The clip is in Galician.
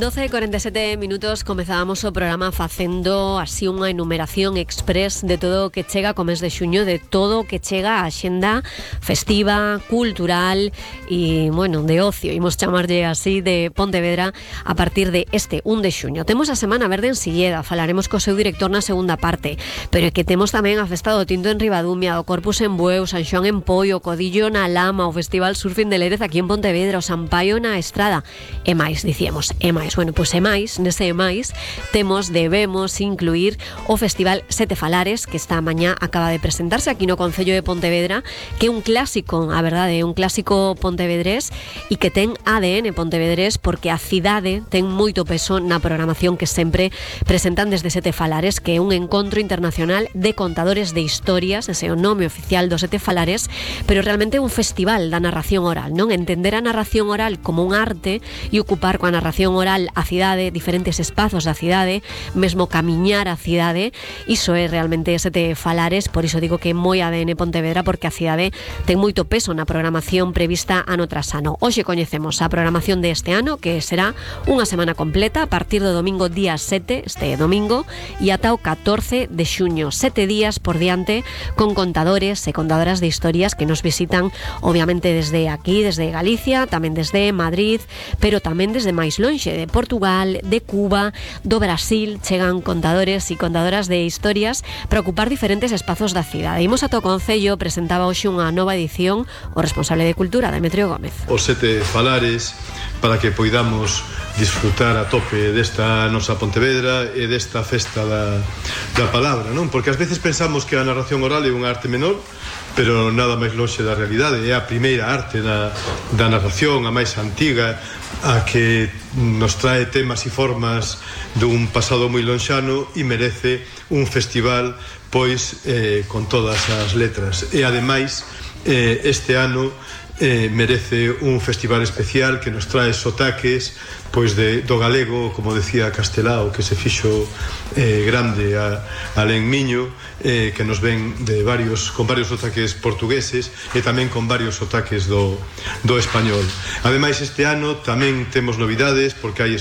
12:47 minutos comezábamos o programa facendo así unha enumeración express de todo o que chega co mes de xuño, de todo o que chega a xenda festiva, cultural e, bueno, de ocio, imos chamarlle así, de Pontevedra a partir de este 1 de xuño. Temos a Semana Verde en Silleda, falaremos co seu director na segunda parte, pero é que temos tamén a Festa do Tinto en Ribadumia, o Corpus en Bueu, San Xoán en Poio, o Codillo na Lama, o Festival Surfing de Lérez aquí en Pontevedra, o Sampaio na Estrada, e máis, dicíamos, e máis. Bueno, pois e máis, nese e máis, debemos incluir o Festival Sete Falares, que esta mañá acaba de presentarse aquí no Concello de Pontevedra, que é un clásico, a verdade, é un clásico pontevedrés e que ten ADN pontevedrés, porque a cidade ten moito peso na programación que sempre presentan desde Sete Falares, que é un encontro internacional de contadores de historias, ese é o nome oficial do Sete Falares, pero realmente é un festival da narración oral, non? Entender a narración oral como un arte e ocupar coa narración oral a cidade, diferentes espazos da cidade, mesmo camiñar a cidade, iso é realmente Sete Falares. Por iso digo que é moi ADN Pontevedra, porque a cidade ten moito peso na programación prevista ano tras ano. Hoxe coñecemos a programación deste ano, que será unha semana completa a partir do domingo día 7, este domingo, e ata o 14 de xuño, 7 días por diante, con contadores e contadoras de historias que nos visitan, obviamente desde aquí, desde Galicia, tamén desde Madrid, pero tamén desde máis lonxe, de Portugal, de Cuba, do Brasil, chegan contadores e contadoras de historias para ocupar diferentes espazos da cidade. Imos ata o Concello, presentaba hoxe unha nova edición o responsable de Cultura, Demetrio Gómez. Os Sete Falares, para que poidamos disfrutar a tope desta nosa Pontevedra e desta festa da palabra, non? Porque ás veces pensamos que a narración oral é unha arte menor, pero nada máis lonxe da realidade. É a primeira arte da narración, a máis antiga, a que nos trae temas e formas dun pasado moi lonxano e merece un festival pois con todas as letras. E ademais este ano merece un festival especial que nos trae sotaques pois do galego, como decía Castelao, que se fixo grande alén Miño, que nos ven con varios sotaques portugueses e tamén con varios sotaques do español. Ademais, este ano tamén temos novidades, porque hai